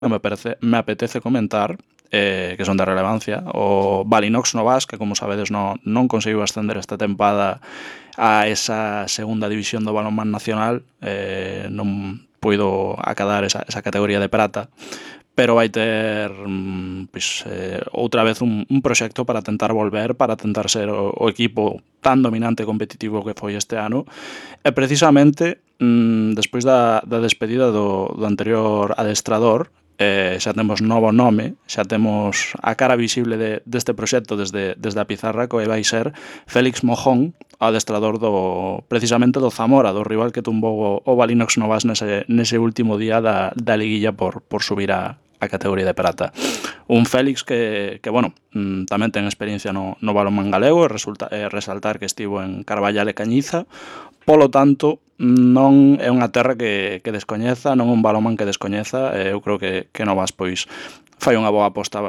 me apetece comentar, que son de relevancia. O Balinox Novas, que como sabedes non conseguiu ascender esta tempada a esa segunda división do balonmán nacional, non puido acadar esa categoría de prata, pero vai ter outra vez un proxecto para tentar volver, para tentar ser o equipo tan dominante e competitivo que foi este ano. E precisamente despois da despedida do anterior adestrador, xa temos novo nome, xa temos a cara visible deste proxecto desde a pizarra, que vai ser Félix Mojón, adestrador precisamente do Zamora, do rival que tumbou o Balinox Novas nese último día da liguilla por subir a categoría de prata. Un Félix que bueno, tamén ten experiencia no balonmán galego, resaltar que estivo en Carballal e Cañiza. Polo tanto, non é unha terra que descoñeza, non un balonmán que descoñeza. Eu creo que Novas pois fai unha boa aposta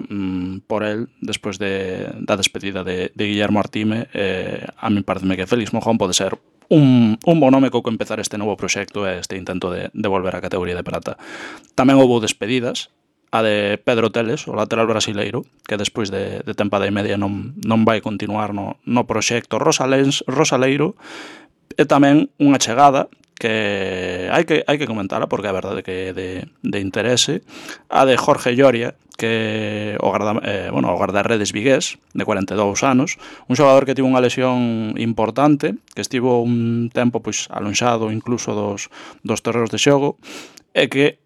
por el despois da despedida de Guillermo Artime. A mí pareceme que Félix Mojón pode ser un bo nome co que empezar este novo proxecto e este intento de volver á categoría de prata. Tamén houve despedidas, a de Pedro Teles, o lateral brasileiro, que despois de tempada e media non vai continuar no proxecto rosaleiro. E tamén unha chegada que hai que comentala porque é verdade que é de interese, a de Jorge Lloria, que o guardarredes vigués, de 42 anos, un xogador que tivo unha lesión importante, que estivo un tempo alonxado incluso dos terreos de xogo, e que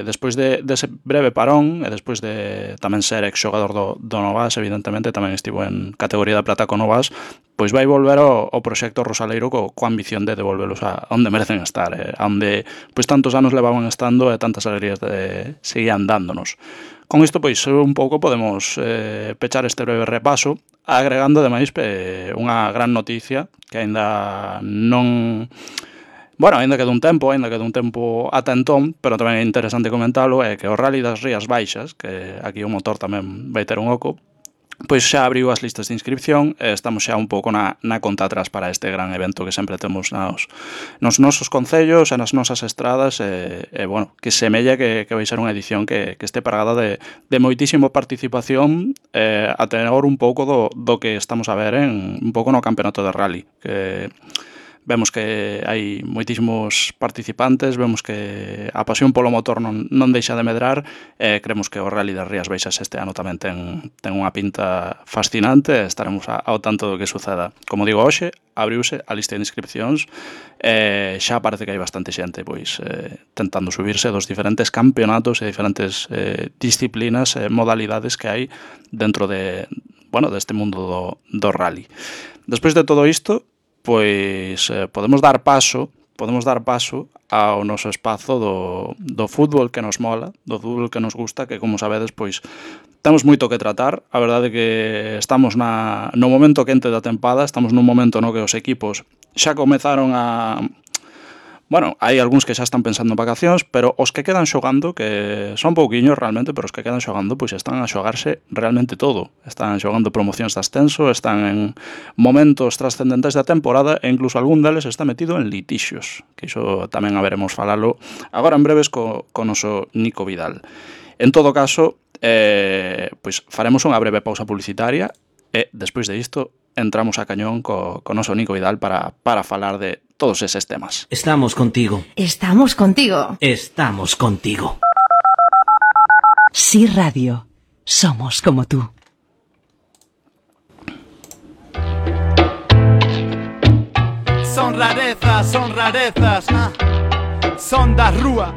despois dese breve parón e despois de tamén ser ex-xogador do Novas, evidentemente tamén estivo en categoría de prata con Novas, pois vai volver ao proxecto rosaleiro coa ambición de devolvelos a onde merecen estar, onde pois tantos anos levaban estando e tantas alegrías seguían dándonos. Con isto pois un pouco podemos pechar este breve repaso, agregando ademais unha gran noticia que aínda non... Bueno, aínda queda un tempo ata entón, pero tamén é interesante comentalo, é que o Rally das Rías Baixas, que aquí o motor tamén vai ter un oco, pois xa abriu as listas de inscripción e estamos xa un pouco na conta atrás para este gran evento que sempre temos nos nosos concellos e nas nosas estradas e bueno, que semella que vai ser unha edición que este parada de moitísima participación a tenor un pouco do que estamos a ver un pouco no campeonato de rally, que vemos que hai moitísimos participantes, vemos que a pasión polo motor non deixa de medrar e creemos que o Rally das Rías Baixas este ano tamén ten unha pinta fascinante e estaremos ao tanto do que suceda. Como digo, hoxe abriuse a lista de inscripcións e xa parece que hai bastante xente pois tentando subirse dos diferentes campeonatos e diferentes disciplinas e modalidades que hai dentro deste mundo do rally. Despois de todo isto, pois podemos dar paso ao noso espazo do fútbol que nos mola, do fútbol que nos gusta, que como sabedes, pois temos moito que tratar. A verdade é que estamos no momento quente da tempada, estamos nun momento no que os equipos xa comezaron a... Bueno, hai algúns que xa están pensando en vacacións, pero os que quedan xogando, que son pouquiños realmente, pero os que quedan xogando, pois están a xogarse realmente todo. Están xogando promocións de ascenso, están en momentos trascendentes da temporada e incluso algún deles está metido en litixios, que iso tamén haberemos falalo agora en breves co noso Nico Vidal. En todo caso, pois faremos unha breve pausa publicitaria e despois de isto entramos a cañón co noso Nico Vidal para falar de todos eses temas. Estamos contigo. Estamos contigo. Estamos contigo. Sí Radio. Somos como tú. Son rarezas, son da rúa.